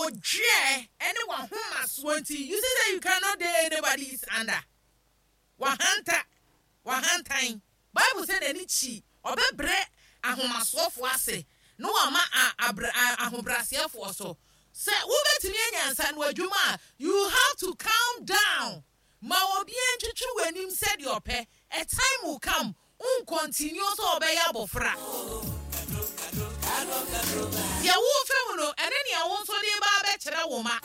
Wo dweɛ ne w'ahomasoɔ nti, you see sɛ you cannot dare anybody is under. W'ahanta, w'ahantan. Bible sɛ n'ani kyi, ɔbɛbrɛ ahomasoɔfoɔ ase na wama a abrɛ a ahobrɛaseɛfoɔ so. Sɛ wobɛtumi anya nsano adwuma a, you have to calm down. Ma obiara ntwitwi w'anim sɛdeɛ ɔpɛ. A time will come, wo ncontinue sɛ ɔbɛyɛ abɔfra. Deɛ worefa mu no, ɛne nea wo nso de reba abɛkyerɛ wo mma.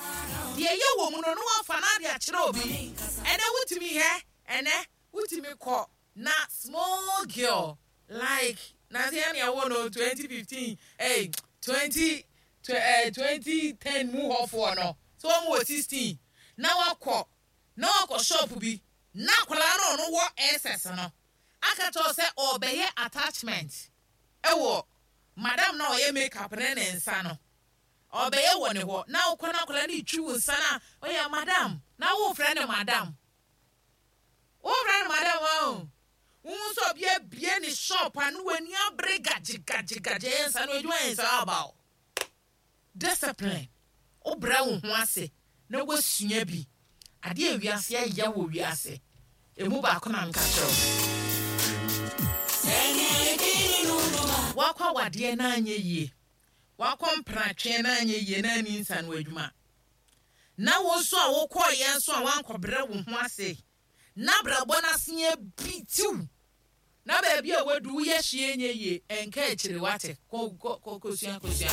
Deɛ ɛyɛ wɔ mu no, na woafa no ade akyerɛ obi. Ɛnnɛ wotumi hɛ, ɛnnɛ wotumi kɔ na small girl like nansa yi nea ɛwɔ no 2015 ei 20 eh, 2010 mu hɔfoɔ no, sɛ wɔn wɔ 16 na wakɔ na wakɔ shop bi na akwadaa no ɔno wɔ SS no aka kyerɛ wo sɛ ɔrebɛyɛ attachment wɔ madam no a ɔyɛ make up ne ne nsa no ɔrebɛyɛ wɔ ne hɔ na wokɔ na akwadaa no retwi wo nsa no a ɔyɛ madam na wofrɛ no madam wofrɛ no madam o wohu sɛ obi abie ne shop a ne w'ani abere gagye gagye gagye ɛyɛ nsa no adwuma yɛ nsa aba o. Discipline, Wobrɛ wo ho ase na woasua bi. Adeɛ a wiase ayɛ wɔ wiase, ɛmu baako na meka kyerɛ wo. Woakɔ awadeɛ na anyɛ yie, woakɔ mpratweɛ na anyɛ yie na anni nsano adwuma, na wo nso a wokɔeɛ nso a woankɔbrɛ wo ho ase na abrabɔ no ase abitiw Na baabi a wadu woyɛ hwee nyɛ yie ɛnka akyire wate kɔ kɔ kɔ kɔsua kɔsua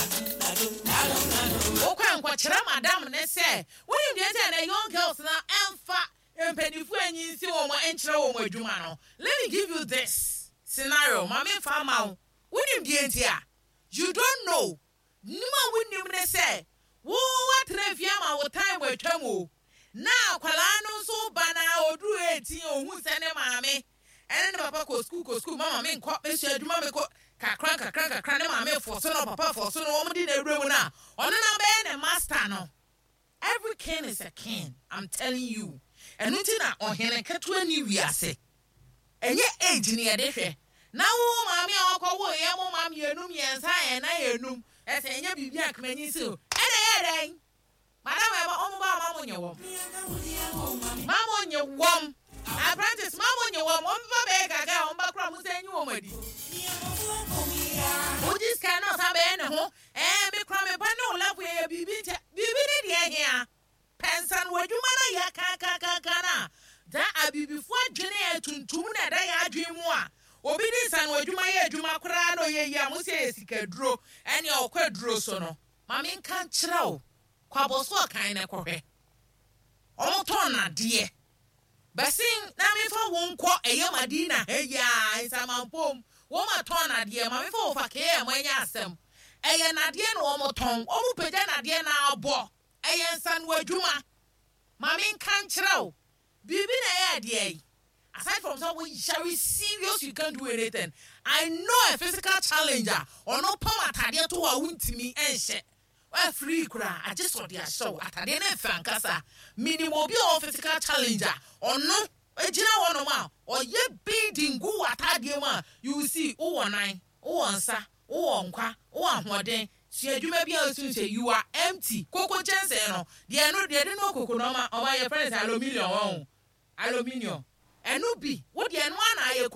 wokɔ a nkɔkyerɛ madam ne sɛ wonim deɛ nti a na young girls no ɛmfa mpaninfoɔ anyi nsi wɔn nkyerɛ wɔn adwuma no let me give you this scenario ma me nfa ma wo wonim deɛ nti a you don't know Nim a wonnim ne sɛ wo woatena fie ama wo time atwam o, na akwadaa no nso ba no ara ɔduru 18 ɔhu sɛ ne maame ɛne ne papa kɔ sukuu kɔ sukuu mama menkɔ mɛsua adwuma mekɔ kakra nkakra nkakra ne maame fɔso no ɔpapa fɔso no wɔn de no awura mu no a ɔno na abɛyɛ ne master no. Every king is a king I'm telling you ɛno nti na ɔhene ketewa nni wiase ɛnyɛ age na yɛde hwɛ na wo maame a ɔkɔ wo yɛ mo ma mmienu mmiɛnsa ɛnan enum ɛsɛ ɛnyɛ biribi a kmanyi si o ɛna ɛyɛ dɛn madam ɛba ɔmo ba ma mo nye wɔm ma mo nye wɔm apprentice ma mo nye wɔm wɔn ba bɛyɛ gaga a wɔn ba kora mo sɛ nyi wɔn adi wogye sika na ɔsan bɛyɛ ne ho Ɛɛ me kora me ba ne wo level yɛyɛ biribi nkyɛ biribi ne deɛ hea pɛ nsa no w'adwuma no yɛ kankankankan no a da abibifoɔ adwene a tuntum na ɛda yɛn adwene mu a obi de nsa no adwuma yɛ adwuma koraa na ɔyɛ yie a mo sɛ yɛ sika duro ɛne ɔkɔ aduro so no ma me nka nkyerɛ wo kɔ abɔso ɔkan na kɔhwɛ wɔn tɔn nadeɛ Bɛsen na memfa wo nkɔ ɛyɛ Madina ha yi ara, Nsamampom, wɔn atɔn nadeɛ, ma memfa wo fa KM ɛnyɛ asɛm, ɛyɛ nadeɛ na wɔn tɔn, wɔn pagya nadeɛ na abɔ, ɛyɛ nsanoa adwuma, ma menka nkyerɛ wo, biribi na ɛyɛ adeɛ yi, aside from sɛ wo yare serious you can't do anything, I know a physical challenge a ɔno pam atadeɛ to hɔ a wontumi nhyɛ, Woafiri koraa a, agye sɛ ɔde ahyɛ wo. Atadeɛ no ɛfɛ ankasa. Menim obi a ɔwɔ physical challenge a, ɔno gyina hɔnom a, ɔyɛ beading gu w'atadeɛ mu a, you will see, wowɔ nan, wowɔ nsa, wowɔ nkwa, wowɔ ahoɔden, sua adwuma bi a wosu sɛ you are empty. Koko kyɛnsee no, deɛ ɛno, deɛ yɛde noa koko no, ɔma, ɔma yɛfrɛ no sɛ aluminium, wahu, aluminium. Ɛno bi, wo deɛ ɛno ara na ayɛ.